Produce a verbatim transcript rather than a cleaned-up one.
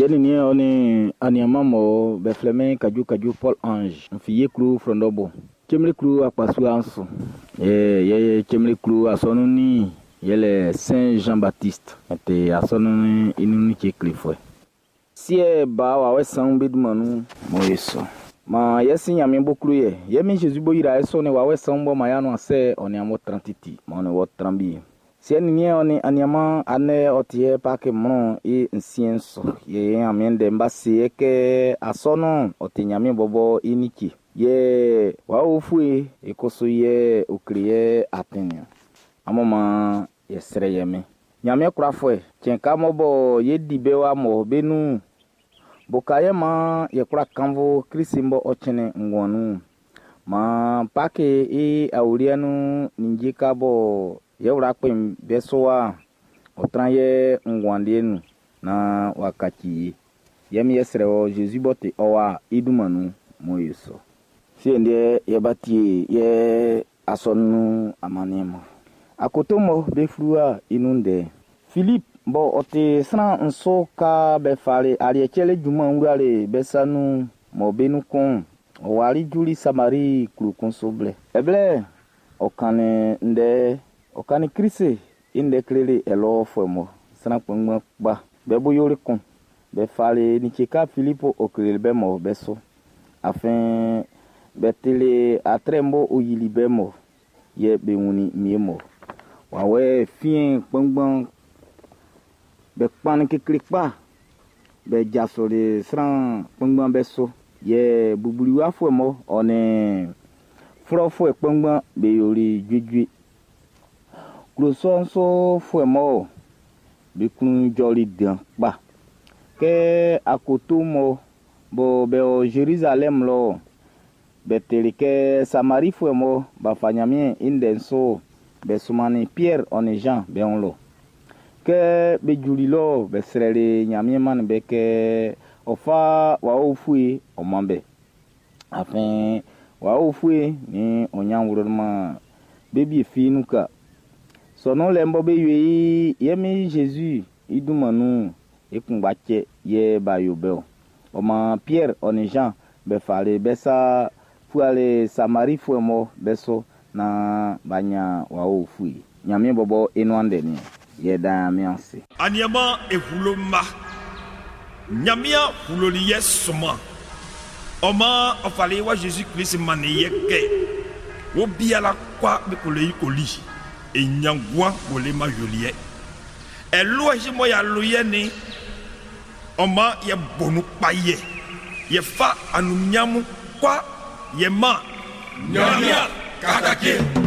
Siɛ nin niɛn ɔ nin aniaman mɔ be flɛ min Kaju Kaju Paul Ange n fi Yeklu Frɔndɔbɔ. Cemle akpasua'n su. Yɛ yɛ Cemle asɔnun'n yɛlɛ Saint Jean Baptiste. Ɛte asɔnun'n i nun like klefuɛ. Siɛ ba wawɛ sanwun be dunman nun mɔ ye sɔ. Maan yɛ si Ɲanmiɛn bo klo yɛ. Yɛ min Jésus bo yra e sɔ ne wawɛ sanwun bɔ ma ya no ase ɔ ne amɔ tran titi. Ma ɔ ne wɔ tran bi. Siɛ nin niɛn ɔ nin aniaman anɛ ɔ ti yɛ Paki mlɔn i nsiɛn su. Yɛ Ɲanmiɛn ndɛ'n ba se yɛ kɛ asɔnun'n ɔ ti Ɲanmiɛn bɔbɔ i like. Yɛ wawɛ ufue i kusu yɛ ɔ kle yɛ atin niɔn. Amun maan yɛ srɛ yɛ min. Ɲanmiɛn kwlafuɛ, cɛn ka mɔ bɔ ye di be wa mɔ be nun. Boka yɛ maan yɛ kwla kannvu Klisi bɔ ɔ cɛnnin nguan nun. Maan Paki i awuliɛ nun ninnge ka bɔ yɛ wla kpɛn be su wa ɔ tran yɛ nguan liɛ nun naan w'a kaci ye. Yɛ mi yɛ srɛ wɔ Jésus b'ɔ ti ɔ wa i dunman nun mɔ ye sɔ. Siɛn deɛ yɛ ba tie yɛ asɔnun amanniɛn mɔ. Akoto mɔ be fluwa i nun ndɛ. Filip bɔ ɔ ti sran nso ka be fali aliɛ cɛlɛ junman wlali be sa nun mɔ be nun kun ɔ wali juli Samari klo kun su blɛ. Ɛblɛ ɔ kannin ndɛ ɔ kannin Klisi i ndɛ kleli ɛlɔfuɛ mɔ sran kpanngban kpa be bo yoli kun. Be fali like ka Filipu ɔ kleli be mɔ be su. Afin be tili atrɛ bɔ ɔ yili be mɔ yɛ be wunnin mie mɔ. Wawɛ fiɛn kpanngban be kpannin kekle kpa be jasoli sran kpanngban be su. Yɛ bubuwafuɛ mɔ ɔ nin flɔfuɛ kpanngban be yoli juejue. Klo sɔ'n sufuɛ mɔ be klun jɔli dan kpa. Kɛ akoto mɔ bɔ be o Zerizalɛm lɔ be tili kɛ Samarifuɛ mɔ b'a fa Ɲanmiɛn i ndɛ'n su be sunmannin Piɛr ɔ nin Jean be wun lɔ. Kɛ be juli lɔ be srɛli Ɲanmiɛn mannin be kɛ ɔ fa wawɛ ufue ɔ man be. Afin wawɛ ufue nin ɔ ɲan wlɔman be bie fi nun ka. Sɔnun lɛ bɔ be yo i yɛ min Jésus i dunman nun i kunngba cɛ yɛ b'a yo be o. Ɔ maan Piɛr ɔ nin Jean be fali be sa fuali Samarifuɛ mɔ be su naan b'a ɲan wawɛ ufue. Ɲanmiɛn bɔbɔ i nuan ndɛ niɔn. Yɛ dan Ɲanmiɛn ase. Aniaman e hulo ma. Ɲanmiɛn huloli yɛ sɔman. Ɔ maan ɔ fali wa Jésus Christ mannin yɛ kɛ wo biala kwa be ko le yi ko li. E ɲanguan wo le ma yoli yɛ. Ɛlu ɛsi mɔ ya lo yɛ ni. Ɔ maan yɛ bonu kpa yɛ. Yɛ fa anumiamu kwa yɛ ma. Ɲanmiɛn katake.